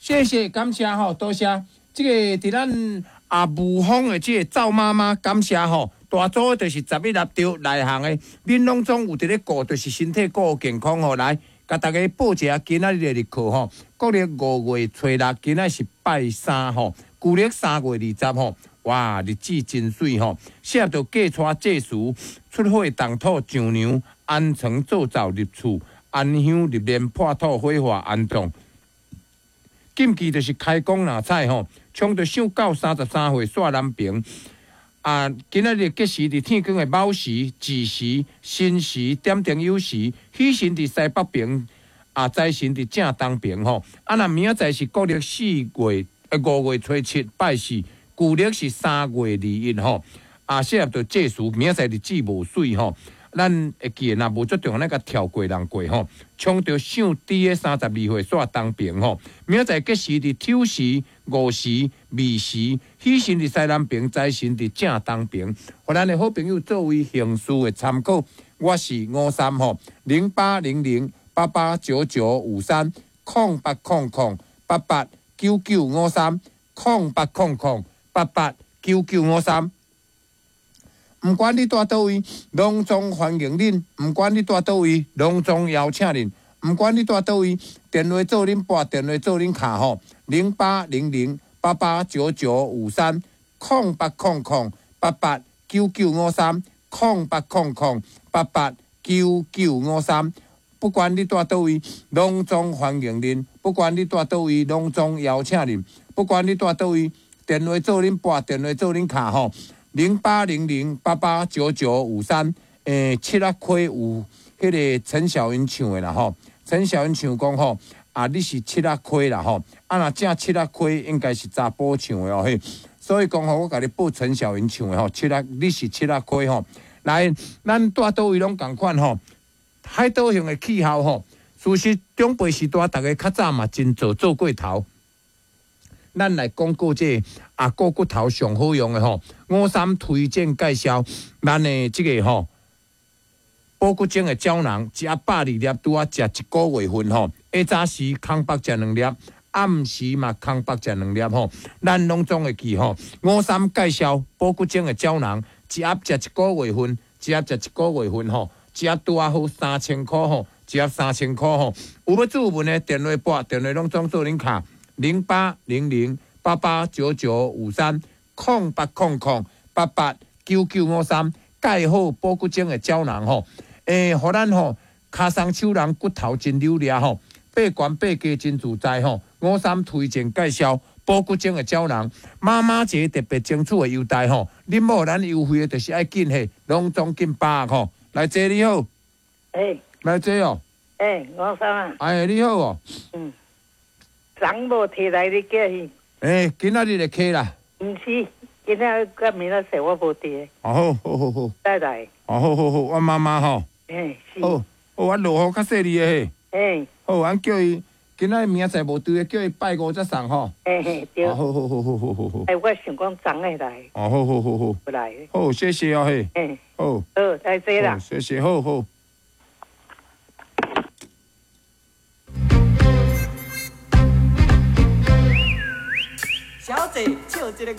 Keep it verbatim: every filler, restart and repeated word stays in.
謝謝感謝吼，多謝。這個佇咱啊霧峰的這個趙媽媽感謝吼，大組就是十一粒著內行的，恁攏總有佇咧顧，就是身體顧健康吼。來，共大家報一下今仔日的日課吼，國曆五月初六，今仔是拜三吼，舊曆三月二十吼。哇，日子真媠吼！適合著嫁娶祭祀、出火動土丈娘、安床做灶入厝、安香入殮破土火化安葬。禁忌就是開工若彩吼，衝著上到三十三歲煞南平。啊，今仔日吉時佇天光的卯時、子時、申時、點燈酉時，喜神佇西北爿，啊，財神佇正東爿吼。啊，若明仔載是國曆四月、五月初七拜四。舊曆是三月二一吼，啊，適合著祭祀，明仔載日子無媠吼，咱會記得若無足重要，咱共跳過人過吼，衝著上豬的三十二歲煞東爿吼，明仔載吉時佇丑時、午時、未時，喜神佇西南爿，財神佇正東爿，予咱的好朋友作為行事的參考。我是吳三吼，零八零零八八九九五三，空八空空八八九九五三，空八空空八八九九五三，毋管你蹛佗位，攏總歡迎恁；毋管你蹛佗位，攏總邀請恁；毋管你蹛佗位，電話做恁撥，電話做恁敲吼，零八零零八八九九五三，空八空空八八九九五三，空八空空八八九九五三。不管你蹛佗位，攏總歡迎恁；不管你蹛佗位，攏總邀請恁；不管你蹛佗位，電話做恁撥，電話做恁敲吼，零八零零八八九九五三。欸，七仔溪有彼個陳小雲唱的啦吼，陳小雲唱講吼，啊你是七仔溪啦吼，啊若正七仔溪應該是查埔唱的哦嘿，所以講吼，我共你報陳小雲唱的吼，七仔你是七仔溪吼，來，咱蹛佗位攏仝款吼，海島型的氣候吼，事實長輩時代，逐家較早嘛真做做過頭。咱來廣告這個啊，顧骨頭上好用的吼，吳三推薦介紹咱的這個吼，保骨精的膠囊，一盒百二粒，拄仔食一個月份吼。下早時空腹食兩粒，暗時嘛空腹食兩粒吼。咱攏總會記吼。吳三介紹保骨精的膠囊，一盒食一個月份，一盒食一個月份吼，一盒拄仔好三千箍吼，一盒三千箍吼。有欲注文的電話撥，電話攏總做恁敲。零八零零八八九九五三，空八空空八八九九五三，蓋好保骨精的膠囊吼，欸，予咱吼，跤鬆手人骨頭真溜掠吼，爬懸爬低真自在吼。吳三推薦介紹保骨精的膠囊，媽媽節特別爭取的優待吼，恁某咱優惠的就是愛緊嘿，攏總緊把握吼。來坐你好，欸，來坐哦，欸，吳三啊，哎，你好哦，嗯。昨無提來你叫伊。欸，今仔日會起啦。毋是，今仔日明仔載我無佇。哦，好，好好好。再來。哦，好好好，阮媽媽吼。欸，是。好，好，阮落雨較細膩的嘿。欸。好，阮叫伊今仔日明仔載無佇的，叫伊拜五才送吼。欸嘿，對。哦，好好好好好好好。欸，我想講昨會來。哦，好好好好。無來。好，謝謝哦嘿。欸。好。好，再見啦。謝謝，好好。小姐，笑這個